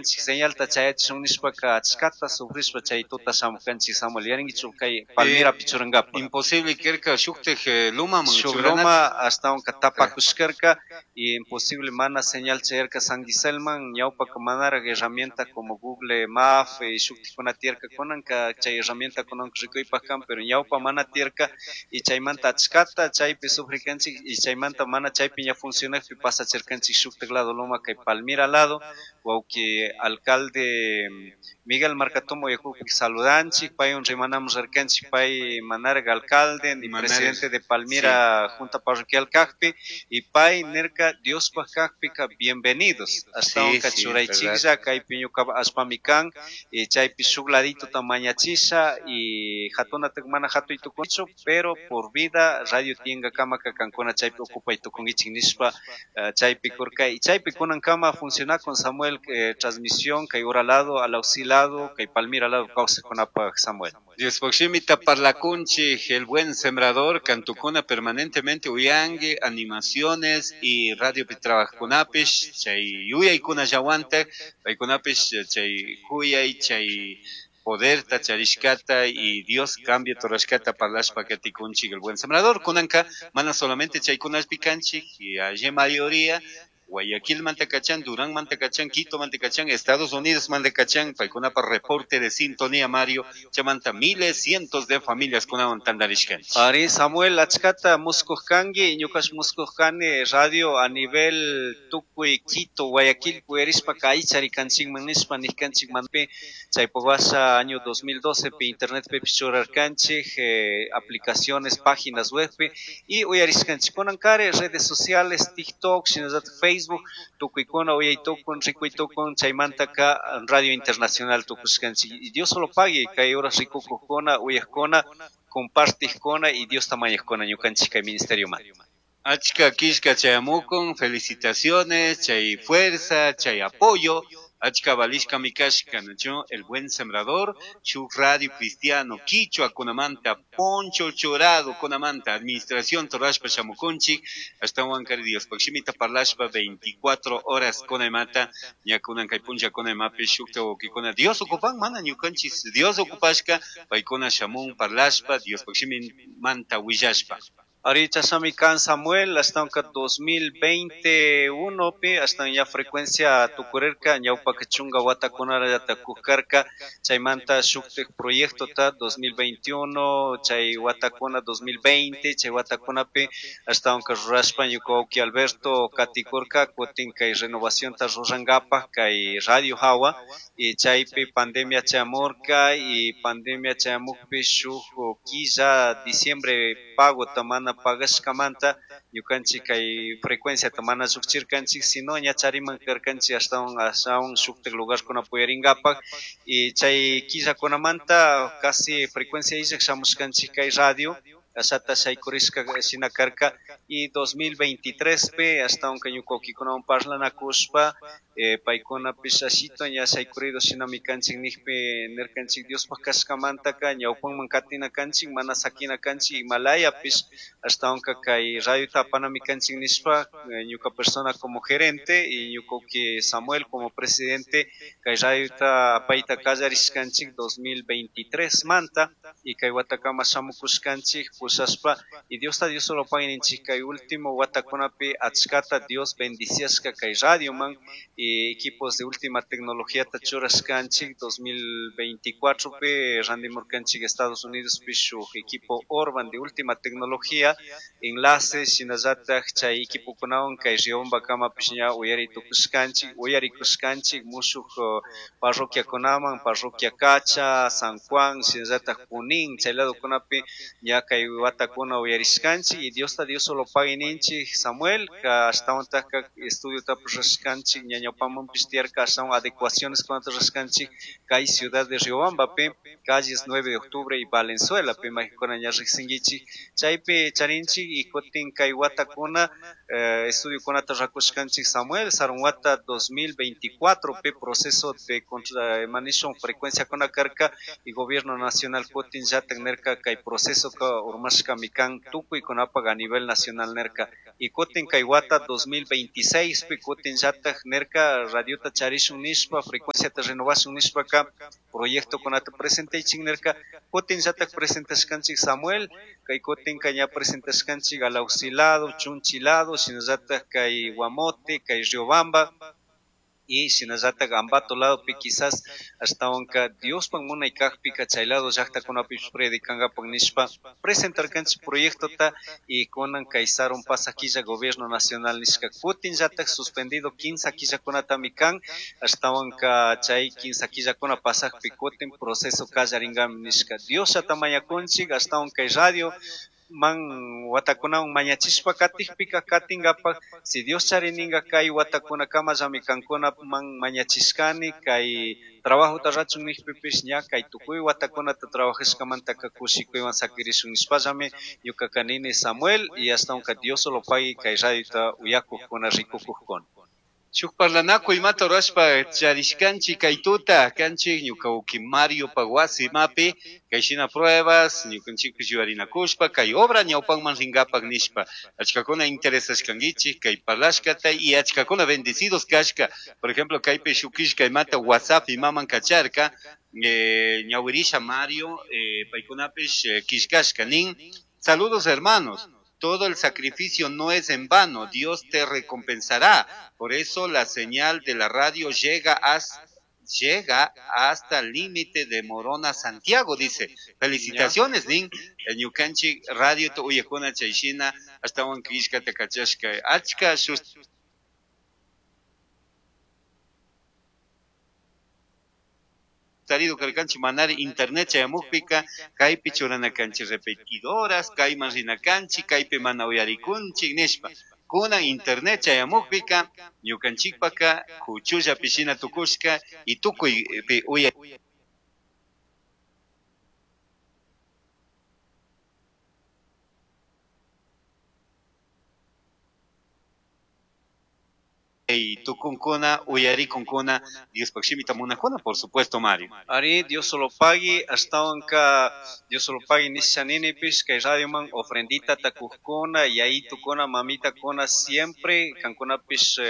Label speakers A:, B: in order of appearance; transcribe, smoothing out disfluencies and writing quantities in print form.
A: Señalta chayachishun nishpaka achkata sufrishpa chay tuta shamukanchik, Samuel, yarinkichu kay Palmirapi churankapa.
B: Imposible karka shuktik lumaman.
A: Shuk loma ashtawanka tapakushkarka y imposible mana señal chayarka San Giselman. Ñawpaka manaraq herramienta como Google Maps y shuktikuna tiyarka, kunanka chay herramienta kunanka rikuypak kan, pero ñawpa mana tiyarka y chaymanta achkata chaypi sufrikanchik y chaymanta mana chaypi ña funcionakpi pasachirkanchik shuktik lado loma kay Palmira lado. Wawki alcalde Miguel Marcatomo yakupi saludanchik, paywan rimanamos rirkanchik, pay manaraq alcalde ni presidente de Palmira Junta Parroquial kakpi, y pay nirka Diospaj kakpika bienvenidos, ashtawanka churaychiklla kaypi ñuka allpami kan y chaypi shuk ladituta mañachisha y hatunatak mana hatuy tukunchu, pero por vida radio tiyankakamaka kankuna chaypi ocupay tukunkichik nishpa chaypi kurka y chaypi kunankama funcionakun, Samuel, transmisión kay ura lado, Alausí lado, kay Palmira lado kawsajkunapaj, Samuel.
B: Diospaj shimita parlakunchik, El Buen Sembrador, kantukuna permanentemente uyangi, animaciones y radiopi trabajkunapish, chay yuyaykunallawantak, paykunapish chay kuyay, chay poderta charishkata y Dios cambia torashkata parlashpa katikunchik El Buen Sembrador. Kunanka mana solamente chaykunapi kanchik, y allí mayoría Guayaquil manta kachan, Durán manta kachan, Quito manta kachan, Estados Unidos manta kachan, paykunapa reporte de sintonía, Mario, chamanta miles, cientos de familias kunawan tantarishkanchik.
A: Ari, Samuel, achkata muskuj kanki, ñukash muskuj kani radio a nivel tukuy Quito, Guayaquil puyarishpa kaycharikanchikman nishpa nijkanchik manpi, chaypuk washa año 2012 pi internet pi churarkanchik, aplicaciones, páginas web pi, y uyarishkanchik. Kunankari redes sociales, TikTok, shinallatak Facebook, tukuykuna uyaytukun, rikuytukun, chaymantaka radio internacional tukushkanchik. Y Dios solo pague, kay horas rikukujkuna, uyajkuna, compartijkuna y Dios tamañajkuna ñukanchik kay ministerio man.
B: Achka kishka chayamukun, felicitaciones, chay fuerza, chay apoyo, achka valishka mikashka, ¿no? El Buen Sembrador, shuk radio cristiano, Quichua kunamanta, Poncho Chorado kunamanta, administración torashpa shamukunchik, hasta Huancar Dios, Paximita parlashpa 24 horas kunamata, ñakunan kay puncha kunamapi shukta wawkikuna, Dios ocupan, mana ñukanchis, Dios ocupashka, paykuna shamun parlashpa, Dios manta willashpa.
A: Ahorita Sami Kan, Samuel, hasta 2021 pi, hasta ya frecuencia tukurerka, ñawpa chunga watakunara yata kukarka, chaymanta shuktik proyecto ta 2021, chay watakuna 2020, chay watakunapi, hasta unka rurashpa ñuka wawki Alberto katikurka, kutin kay renovación ta rurangapa, kay radio hawa, y chaypi pandemia chamurka, y pandemia chamukpi shuk killa diciembre pago tamana pagashkamanta ñukanchik kay frecuencia mana llukchirkanchik, sino ña chariman karkanchik ashtawan shuktik lugarkuna puyarinkapak, y chay killakunamanta casi frecuencia illak shamushkanchik kay radio, ashata shaykurishka shina karka, y 2023 pe ashtawan kay ñuka wawkikunawan parlanakushpa, paykunapish ashito ña shaykurido shinami kanchik nijpi nirkanchik Diospaj kashkamantaka ñawpanman katina kanchik, mana sakina kanchik Himalayapish ashtawanka kay radiota apanami kanchik nishpa, ñuka persona como gerente y ñuka wawki Samuel como presidente kay radiota apayta kallarishkanchik 2023 manta y kay watakama shamukushkanchik pushashpa, y Diosta Dios solo pagui ninchik kay último watakunapi achkata Dios bendiciashka kay radioman y equipos de última tecnología ta churashkanchik 2024 pi randimurkanchik Estados Unidos pi shuk equipo Orban de última tecnología, enlace shinallatak chay equipokunawan kay Riobambakamapish ña uyari tukushkanchik, uyarikushkanchik mushuk parroquiakunaman, parroquia Cacha, San Juan, shinallatak Junín, chay ladokunapi ña kay watakuna uyarishkanchik y Diosta Dios solo pagui ninchik, Samuel, ka ashtawantak estudio tapurashkanchik, ña ñawpamanpish tiyarka ashtawan adecuaciones kunata rurashkanchik kay ciudad de Riobambapi, calles 9 de octubre y Valenzuela, pi maykuna ña riqsinkichik, chaypi charinchik y kutin kay watakuna Estudiokunata rakushkanchik Samuel sarun wata 2024 pi proceso de manishun frecuenciakuna karka y gobierno nacional kutin llatak nirka kay procesoka urmashkami kan tukuykunapak a nivel nacional nirka y kutin kay wata 2026 pi kutin llatak nirka radiota charishun nishpa frecuenciata renovashun nishpaka proyectokunata presentaychik nirka kutin llatak presentashkanchik Samuel kay kutinka ña presentashkanchik Alausi lado, Chunchi lado, shinallatak kay Guamote, kay Riobamba y shinallatak Ambato ladopi quizás ashtawanka Diospak munay kakpika chay lado llaktakunapish predicangapak nishpa presentarkanchik proyectota y kunan kay sarun pasaq killa gobierno nacional nishka kutinllatak suspendido 15 killakunatami kan ashtawanka chay 15 killakuna pasaqpi kutin proceso kallaringami nishka Diosllata mañakunchik ashtawan kay radio man watakunawan mañachishpa katikpika katinkapak si Dios charininka kay watakunakamallami kankuna man mañachishkani kay trabajota rachun nijpipish ña kay tukuy watakunata trabajashkamantaka kushikuywan sakirishun nishpallami ñukaka nini Samuel y ashtawanka Dios solo pagui kay radiota uyakukkuna rikukukkuna.
B: Shuk parlanakuy imata rurashpa charishkanchik kay tuta kanchik ñuka uki Mario wasi mapi kay shina pruebas ñukanchikpish yuyarinakushpa kay obra ñawpanman rinkapak nishpa achkakuna interesashkankichik kay parlashkata y achkakuna bendecidos kashka. Por ejemplo, kaypi shuk killka imata WhatsApp imaman kacharka ñawirisha Mario paykunapish killkashka nin: saludos hermanos, todo el sacrificio no es en vano, Dios te recompensará. Por eso la señal de la radio llega hasta el límite de Morona, Santiago, dice. Felicitaciones, nin. Ñukanchik radio to uyakuna chayshina ashtawan killkata kachashka. Achka tarido karkanchik manari internet chayamukpika kaypi churanakanchik repetidoras, kayman rinakanchik, kaypi mana uyarikunchik nishpa. Kunan internet chayamukpika ñukanchikpaka kuchullapi shina tukushka y tukuypi uya tukunkuna, uyarikunkuna, Diospak shimita munakuna, por supuesto, Mario.
A: Ari, Dios solo pagui, ashtawanka Dios solo pagui nishaninipish, kay radioman ofrendita takujkuna, yayitukuna, mamitakuna, siempre kankunapish